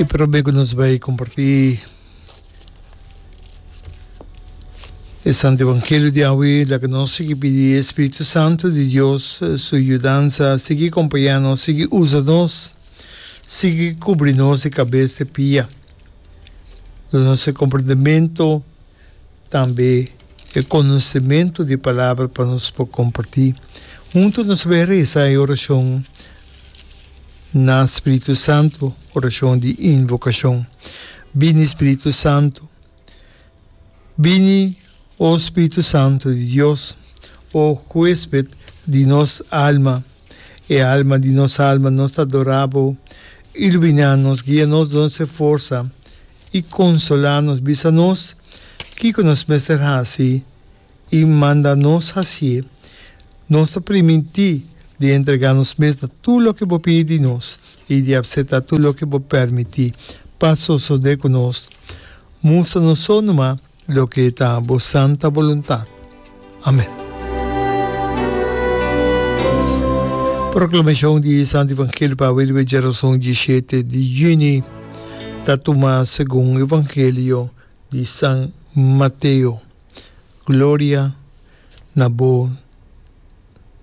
E prome ku nos bai kompartí e Santo Evangelio di awe, laga nos sigui pidi e Spiritu Santu di Dios su yudansa, sigui kompañá nos, sigui usa nos, sigui kubri nos di kabes te pia. Duna nos e komprendementu. Tambe e konosementu di palabra pa nos por kompartí. Huntu nos bai resa e orashon na Spiritu Santu, orashon di invokashon. Bini Spiritu Santu. Bini, o Spiritu Santu di Dios, o huesped di nos alma, e alma di nos alma, nos ta adorá bo. Iluminá nos, guia nos, duna nos e forsa. i konsolá nos, bisa nos kiko nos mester hasi i manda nos hasié. Nos ta primintí di entregá nos mes na tur loke bo pidi di nos i di apseptá tur loke bo permití pa sosodé ku nos. Mustra nos so numa Loke ta bo santa boluntat. Amen. Proklamashon di Santo Evangelio pa awe riba djerason dishete di yüni ta tuma segun Evangelio di San Mateo. Gloria na bo.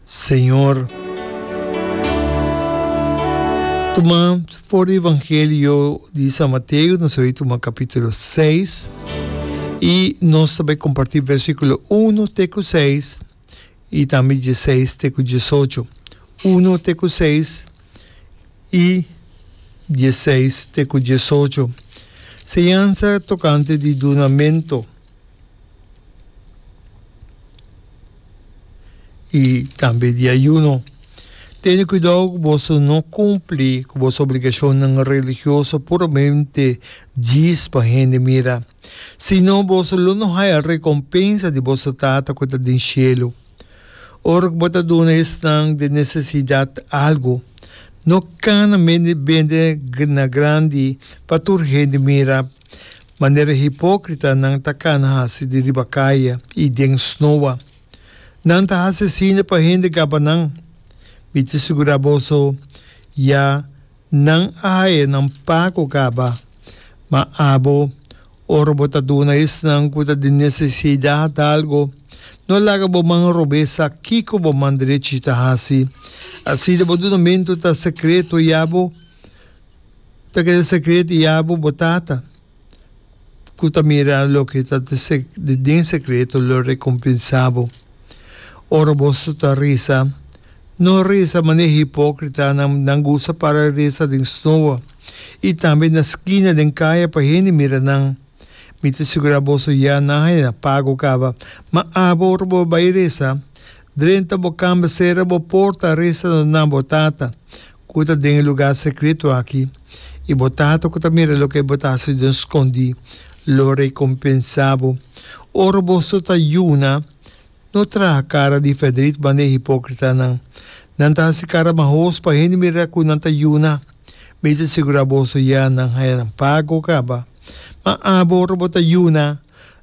Señor. Tuma for di Evangelio di San Mateo, nos a tuma capítulo 6 y nos ta bay comparti versículo 1 te cu 6 y tambe 16 te cu 18. 1 te cu 6 y 16 te cu 18. Señanza tocante di dunamento. i tambe di ayuno. Tene kuidou ku boso no kumpli ku boso obligashonnan religioso puramente djis pa hende mira, sino boso lo no haya rekompensa di boso Tata ku ta den shelu. Ora ku bo ta duna esnan den nesesidat algu, no kana bende na grandi pa tur hende mira, manera hipókritanan ta kana hasi di riba kaya i den snoa. Nan ta hasi asina pa hende gaba nan. Mi ta sigurá boso, ya nan a haya nan pago kaba. Ma abo, ora bo ta duna esnan ku ta den nesesidat algu, no laga bo man robes sa kiko bo man drechi ta hasi. Asina bo dunamentu ta sekreto i abo ta keda sekreto i abo bo Tata, ku ta mira loke ta den sekreto, lo rekompensá bo. Ora boso ta resa, no resa manera hipókritanan, nan gusta para resa den snoa i tambe na skina den kaya pa hende mira nan. Mi ta sigurá boso ya nan haña nan pago kaba. Ma abo ora bo bai resa, drenta bo kamba, sera bo porta, resa na bo Tata ku ta den e lugá sekreto aki, i bo Tata ku ta mira loke bo ta hasi den skondí lo rekompensá bo. Ora boso ta yuna, no traha kara di fèrdrit manera e hipókritanan. Nan ta hasi kara mahos pa hende mira ku nan ta yuna. Mi ta sigurá boso ya nan haña nan pago kaba. Ma abo ora bo ta yuna,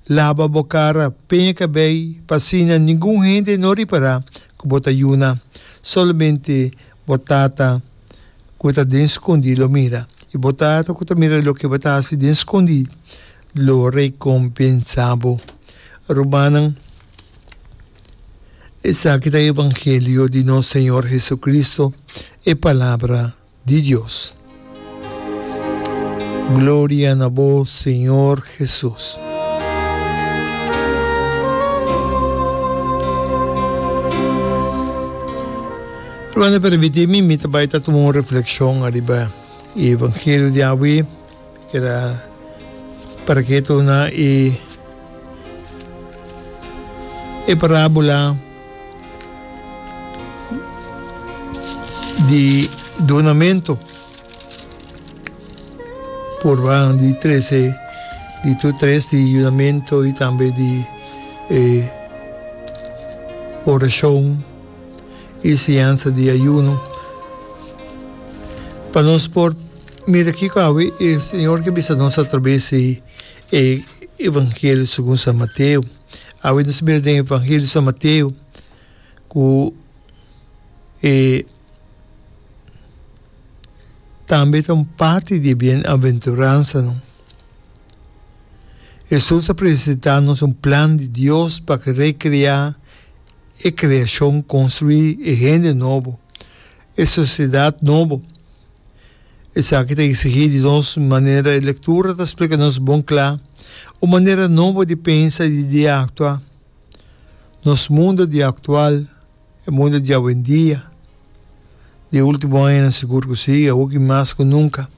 laba bo kara, peña kabei, pa asina ningun hende no ripará ku bo ta yuna. Solamente Bo Tata ku ta den skondí lo mira, i bo Tata ku ta mira loke bo ta hasi den skondí lo rekompensá bo. Rumannan, esaki ta e evangelio di nos Señor Jesucristo, e Palabra di Dios. Gloria na bo, Señor Jesus. Hermano, permiti mi, mi ta bai ta tuma un reflexion ariba e evangelio di awe. Keda para keto na e e parabola di dunamento purba di trece di tur tres di yudamento y tambe di e oracion y siñansa di ayuno pa nos por mira kico awe e Señor ke bisa nos atrabes di e Evangelio segun San Mateo. Awe nos mira den Evangelio San Mateo ku e. Tambe ta un parti di e bienaventuransanan. Hesus a presentá nos un plan di Dios pa rekreá e kreashon, konstruí e hende nobo, e sosiedat nobo. Esaki ta eksigí di nos manera e lektura ta splika nos bon kla, un manera nobo di pensa i di aktua. Nos mundo di aktual, e mundo di awendia, di e ultimo añanan sigur ku si, awoki mas ku nunka,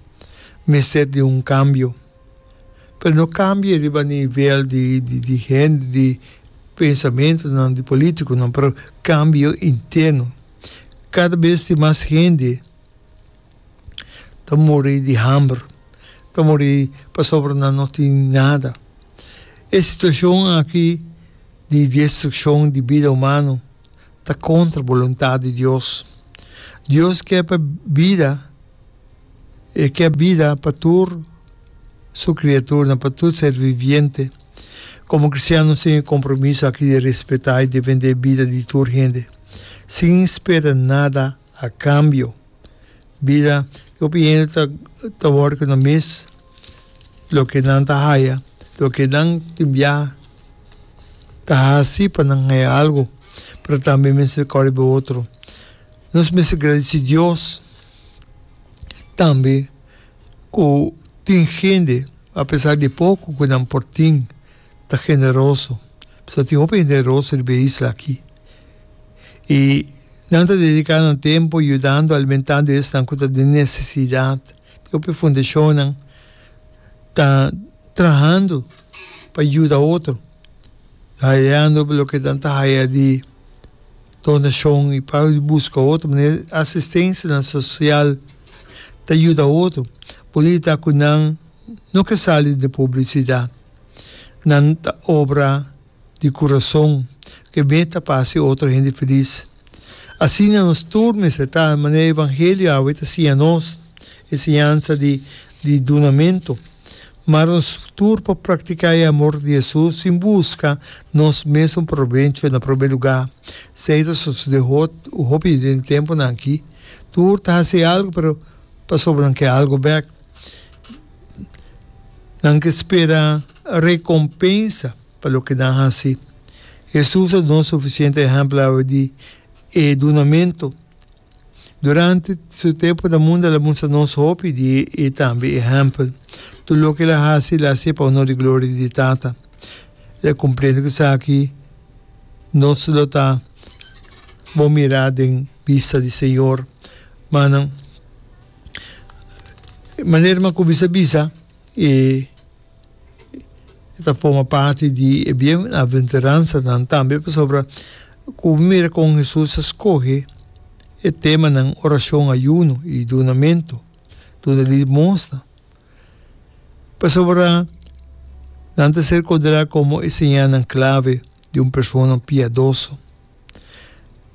mester di un kambio. Pero no kambio riba nivel di di hende, di pensamentunan, di politikonan, pero kambio interno. Kada bes tin mas hende ta muri di hamber, ta muri pasobra nan no tin nada. E situacion aki di destruccion di bida humano ta contra boluntad di Dios. Dios ke pa bida, e ke bida pa tur su criaturnan, pa tur ser viviente. Como cristiano nos tin e compromiso aki di respeta y defende bida di tur hende, sin spera nada A cambio, bida di hopi hende ta ta wòrdu ku nan mes loke nan ta haya, loke nan tin bia ta hasi pa nan haya algu, pero tambe mester kòrda riba otro. Nos mester gradisí Dios tambe ku tin hende, apesar di poko ku nan por tin, ta generoso. Pasobra tin hopi hende generoso riba e isla aki. I nan ta dediká nan tempu yudando, alimentando esnan ku ta den nesesidat. Tin hopi fundashonnan ta trahando pa yuda otro, hayando loke nan ta haya di donashon i pa buska otro manera asistensianan sosial ta yuda otro. Bunita ku nan no ke sali den publisidat. Nan ta obra di kurason ku e meta pa hasi otro hende felis. Asina nos tur mester ta, manera e evangelio awe ta siña nos, e siñansa di di dunamentu. Mar nos tur por praktiká e amor di Hesus sin buska nos mesun probecho na promé lugá. Esei ta sosodé hopi den e tempunan akí. Tur ta hasi algu pero pasobra nan ke algu bèk. Nan ke spera rekompensa pa loke nan hasi. Hesus a duna sufisiente ehèmpel awe di e dunamentu. Durante su tempu na mundu el a mustra nos hopi di e tambe ehèmpel. Tur loke el a hasi, el a hasié pa honor i gloria di Tata. El a kumpliendo ku esaki, nos lo ta bon mirá den bista di Señor. Manan. Manera mi a cuminsa bisa e ta forma parti di e bienaventuransanan tambe pasobra cu mi mira con Jesus a scoge e temanan oracion, ayuno y dunamento, duna limosna, pasobra nan ta ser considera como e señalnan clave di un persona piadoso.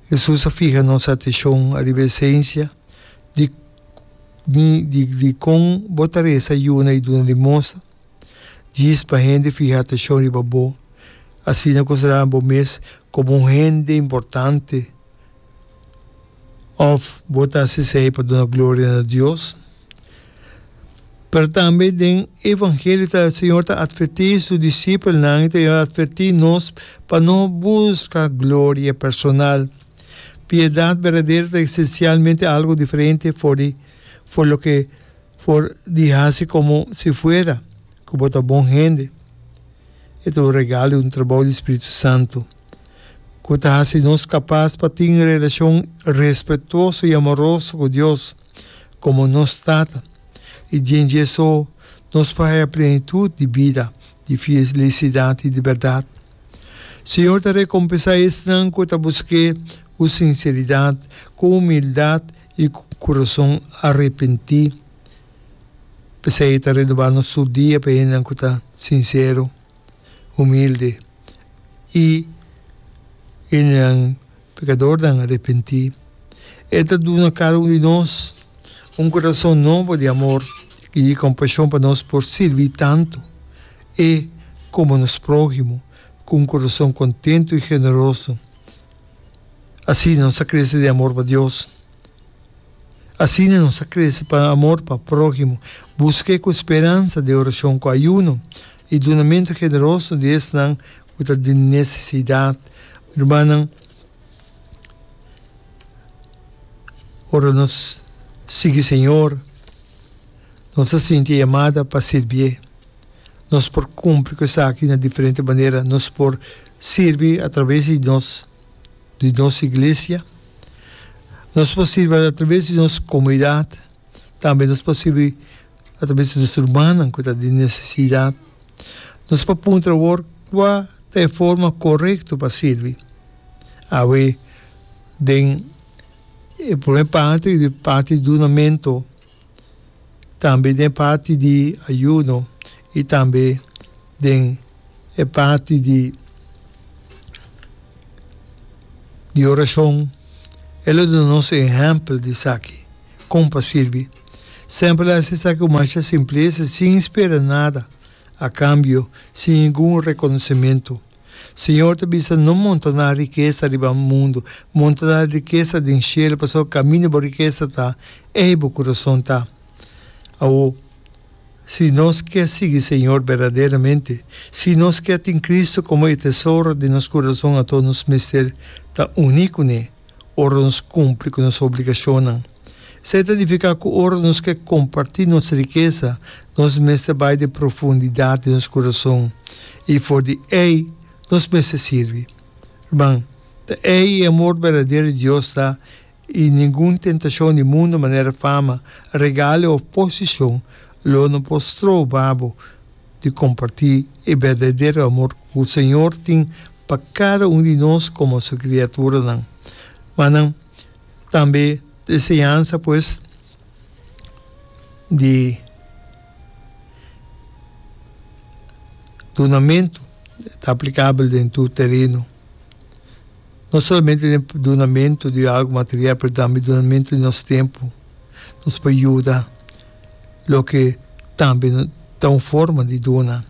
Hesus a fiha nos atenshon ariba esensia di di dikon bo ta resa, yuna i duna limosna. Djis pa hende fiha atenshon riba bo, asina konsiderá bo mes komo un hende importante òf bo ta hasi esei pa duna gloria na Dios? Pero tambe den Evangelio ta Señor ta atvertí su disipelnan i ta atvertí nos pa no buska gloria personal. Piedat berdadero ta esensialmente algu diferente for di for loke for di hasi komo si fuera ku bo ta bon hende. E ta un regalo i un trabou di Spiritu Santu ku ta hasi nos kapas pa tin relashon respetuoso i amoroso ku Dios. Komo nos Tata, i djen dje so nos por haya plenitut di bida, di felisidat i di bèrdat. Señor ta rekompensá esnan ku ta busk'é ku sinseridat, ku humildat i ku kurason arepentí. P'esei e ta renobá nos tur dia pa e hendenan ku ta sinsero, humilde i hendenan pekadornan arepentí. E ta duna kada un di nos un kurason nobo di amor i di kompashon pa nos por sirbi tantu e komo nos próhimo ku un kurason kontentu i generoso. Asina nos ta krese den amor pa Dios. Asina nos ta krese pa amor pa próhimo, busk'é ku speransa den orashon ku ayuno i dunamentu generoso di esnan ku ta den nesesidat. Rumannan, ora nos sigui Señor, nos ta sinti e yamada pa sirbié. Nos por kumpli ku esaki na diferente manera. Nos por sirbi atraves di nos di nos iglesia, nos por sirbi atraves di nos komunidat, tambe nos por sirbi atraves di nos rumannan ku ta den nesesidat. Nos por puntra awor kua ta e forma korekto pa sirbi. Awe den e prome parti di parti di dunamentu, tambe den e parti di ayuno i tambe den e parti di di orashon. E lo duna nos e ehèmpel di esaki, kon pa sirbi. Semper el a hasi esaki ku masha simplesa, sin spera nada a kambio, sin ningun rekonosementu. Señor ta bisa, No montoná rikesa riba mundu, montoná rikesa den shelu, pasobra kaminda bo rikesa ta, ei bo kurason ta. Awor, si nos ke sigui Señor berdaderamente, si nos ke tin Cristo komo e tesoro den nos kurason, anto nos mester ta uní kuné ora nos kumpli ku nos obligashonnan. Esei ta nifiká ku ora nos ke kompartí nos rikesa, nos mester bai den profundidat di nos kurason, i for di ei nos mester sirbi. Ruman, ta ei e amor berdadero di Dios ta, i ningun tentashon di mundu manera fama, regalo òf posishon lo no por stroba bo di kompartí e berdadero amor ku Señor tin pa kada un di nos komo Su kriaturanan. Manan, Tambe e enseñansa pues di dunamentu ta aplicabel den tur tereno. No solamente den dunamentu di algo material pero tambe dunamentu di nos tempo. Nos por yuda loke tambe ta un forma di duna.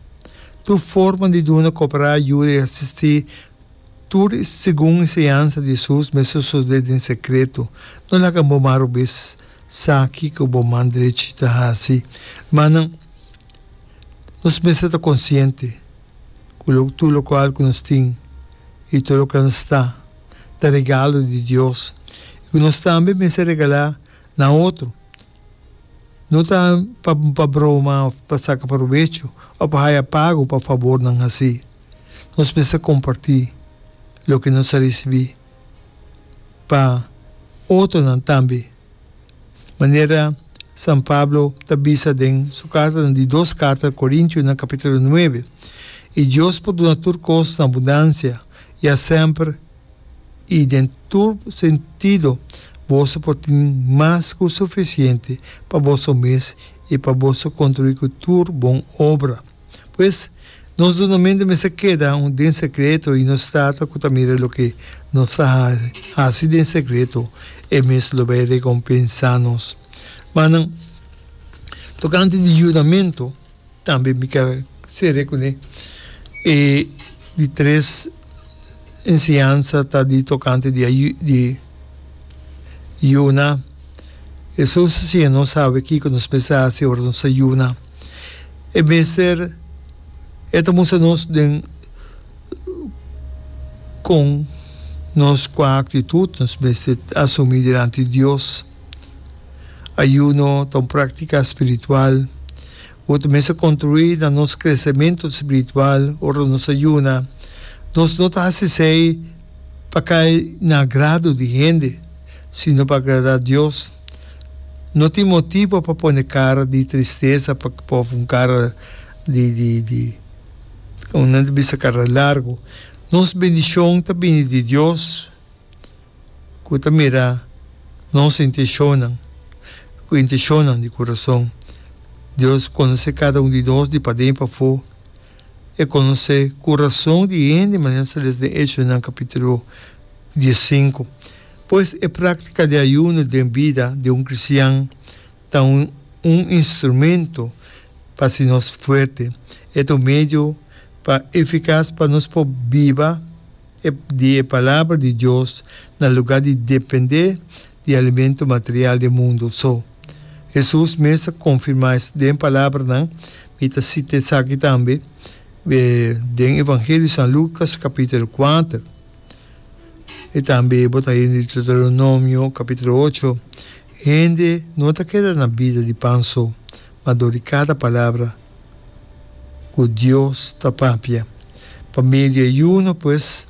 Tur forma di duna, cooperar, yuda y asisti. Tur segun enseñansa di Hesus mester sosodé den sekreto. No laga bo man robes sa kiko bo man drechi ta hasi. Hermannan, nos mester ta konsiente ku tur lokual ku nos tin i tur loke nos ta, ta regalo di Dios i ku nos tambe mester regalá na otro. No ta pa broma òf pa saka probecho òf pa haya pago pa fabornan hasí. Nos mester kompartí loke nos a risibí pa otronan tambe. Manera San Pablo ta bisa den su karta, den di dos karta Korintionan kapítulo nuebe, I Dios por duna tur kos na abundansia, ya semper i den tur sentido boso por tin mas ku sufisiente pa boso mes i pa boso kontribuí ku tur bon obra. Pues, nos dunamentu mester keda un den sekreto i nos Tata ku ta mira loke nos ta hasi den sekreto, e mes lo bai rekompensá nos. Manan, tokante di yudamentu, Tambe mi ka sere kuné. E di tres enseñansa ta di tokante di di yuna. Hesus a siña nos sabe kiko nos mester hasi ora nos ta yuna. E mester e ta mustra nos den kon nos kua aktitut nos mester asumí dilanti Dios. Ayuno ta un práktika spiritual ku ta mester kontribuí na nos kresementu spiritual. Ora nos ta yuna, nos no ta hasi esei pa kai na agrado di hende, sino pa agradá Dios. No tin motibu pa pone kara di tristesa òf un kara di di di komo nan ta bisa kara largu. Nos bendishon ta bini di Dios. Ku ta mira nos intenshonnan ku intenshonnan di kurason. Dios konosé kada un di nos di paden i pafó. E konosé kurason di hende manera nos ta lesa den Echonan kapítulo diesinku. Pues e práktika di ayuno den bida di un kristian ta un un instrumento pa hasi nos fuerte. E ta un medio pa efikas pa nos por biba. E di e Palabra di Dios na lugá di dependé di alimento material di e mundu so. Hesus mes a konfirmá es den palabranan, mi ta sita esaki tambe den Evangelio di San Lukas kapítulo kuater i tambe bo ta hende di Deuteronomio kapítulo ocho, Hende no ta keda na bida di pan so, ma dor di kada palabra ku Dios ta papia. Pa medio di ayuno, pues,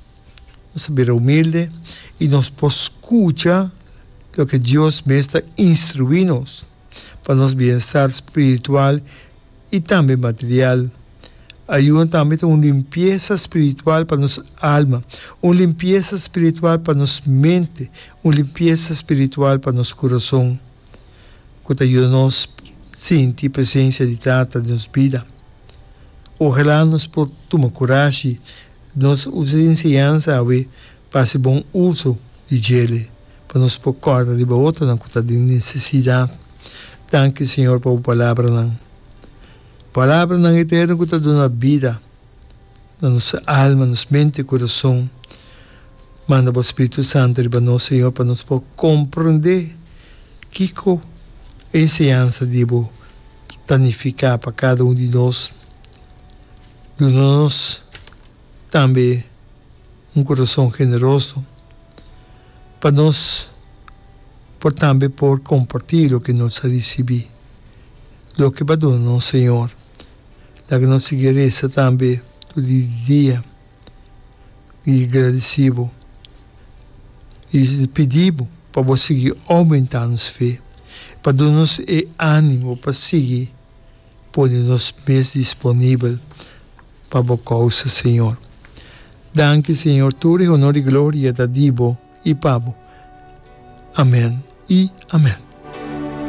Nos ta bira humilde i nos por skucha loke Dios mes ta instruí nos pa nos bienestar spiritual i tambe material. Ayuno tambe ta un limpiesa spiritual pa nos alma, un limpiesa spiritual pa nos mente, un limpiesa spiritual pa nos kurason ku ta yuda nos sinti presensia di Tata den nos bida. Ojalá nos por tuma kurashi Nos usa e enseñansa awe pa hasi bon uso di djele pa nos por kòrda riba otronan ku ta den nesesidat. Danki Señor pa bo palabranan. Palabranan eterno ku ta duna bida na nos alma, nos mente i kurason. Manda bo Spiritu Santu riba nos Señor pa nos por komprondé kiko e enseñansa di bo ta nifiká pa kada un di nos. Duna nos tambe un kurason generoso pa nos por tambe por kompartí loke nos a risibí, loke bo a duna nos, Señor. Laga nos sigui resa tambe tur di dia i gradisí bo i pidi bo pa bo sigui oumentá nos fe, pa duna nos e ánimo pa sigui. Pone nos mes disponibel pa bo kousa, Señor. Danki, Señor, tur e honor i gloria ta di bo i pa bo. Amen i amen.